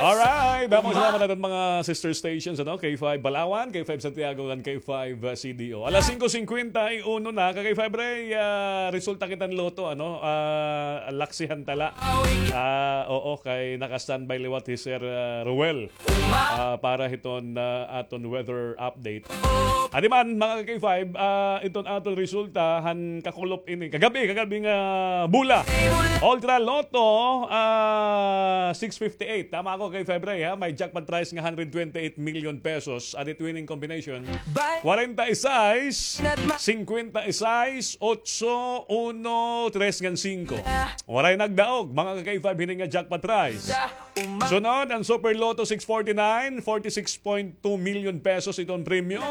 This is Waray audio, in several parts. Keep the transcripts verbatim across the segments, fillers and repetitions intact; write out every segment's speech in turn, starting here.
Alright, damo nga salamat ha aton mga sister stations, ano, K five Balawan, K five Santiago, ngan K five, uh, C D O. Alas singko singkwenta y uno na, ka K five Ray, ah, resulta kitan loto, ano, ah, laksihan ta la. Ah, oo, kay naka-standby liwat hi Sir, ah, Ruel, ah, para hiton, ah, aton weather update. Adi man, mga ka K five, ah, iton aton resulta han kakulop ini. Kagab-i, kagab-i nga bola. Ultra Lotto, ah, six fifty-eight. Tama ako, K five Ray, ha? May jackpot prize nga hundred twenty-eight million pesos. Adi it winning combination. Kwarenta y sais, singkwenta y sais, otso, uno, tres ngan singko. Waray nagdaog, mga ka K five, hini nga jackpot prize. Sunod, an Super Lotto six forty-nine, forty-six point two million pesos iton premyo.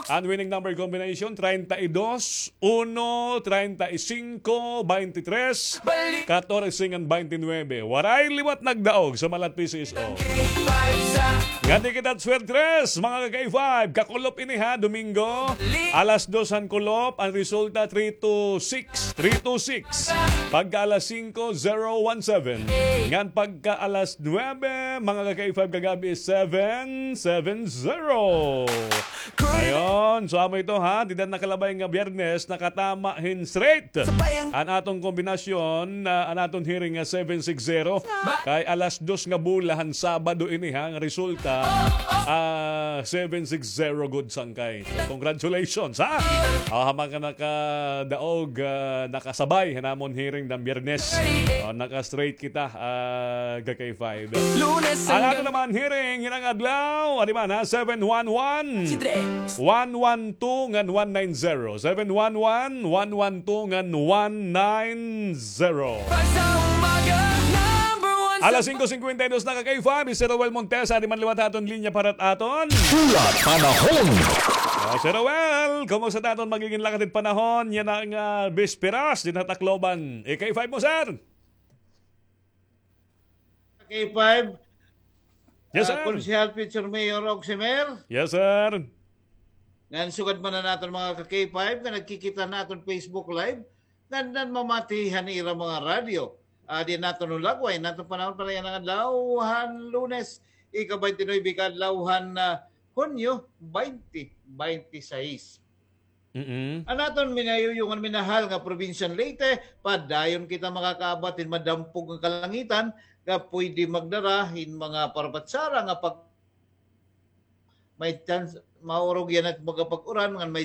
An winning number combination, treinta y dos, uno, treinta y cinco, veintitrés, catorce, ngan veintinuebe. Waray liwat nagdaog sa Malat P C S O. Ngani kita swerte, mga ka K five, kakulop ini ha, Domingo. Alas dos han kulop, an resulta three two six. Three two six. Pagka alas singko, zero one seven. Ngan pagka alas nuebe, mga ka K five, kagab-i, seven seven zero. Ayon, so amo ito ha, dida nakalabay nga Biyernes, nakatama hin straight an aton kombinasyon, ah, an aton hiring nga seven six zero. Kay alas dos nga bola han Sabado ini ha, nga resulta, ah, seven six zero gud sangkay. So, congratulations, ha? Ah, ha mga nakadaog, ah, nakasabay han amon hearing han Biyernes. Ah, naka-straight kita, ah, ka K five. An aton naman hearing, hinang adlaw, adi man, ha? Seven one one, one one two ngan one nine zero. Seven one one, one one two ngan one nine zero. Alas singko singkwenta y dos na, ka K five, Mister Roel Montesa, adi man liwat ha aton linya para ha aton Pula Panahon. Ah, Sir Roel, kumusta it aton magigin lakat it panahon yana nga, ah, bisperas dinhi ha Tacloban? K five mo, sir. K five, yes, ah, sir. Konsehal, Future Mayor Oximer. Yes, sir. Ngan sugad man an aton mga ka K five nga nagkikita han aton Facebook Live, ngan, ngan mamati han ira mga radyo. Adi an aton hulagway han aton panahon para yana nga adlaw han Lunes, ika-baynte nuwebe ka adlaw han, ah, Hunyo, baynte baynte sais. Mm-mm. An aton minayuyong ngan minahal nga probinsya han Leyte, padayon kita makakaabat hin madampog nga kalangitan nga pwede magdara hin mga parapatsara nga pag-, may chance, maurog yana nga makapag-uran ngan may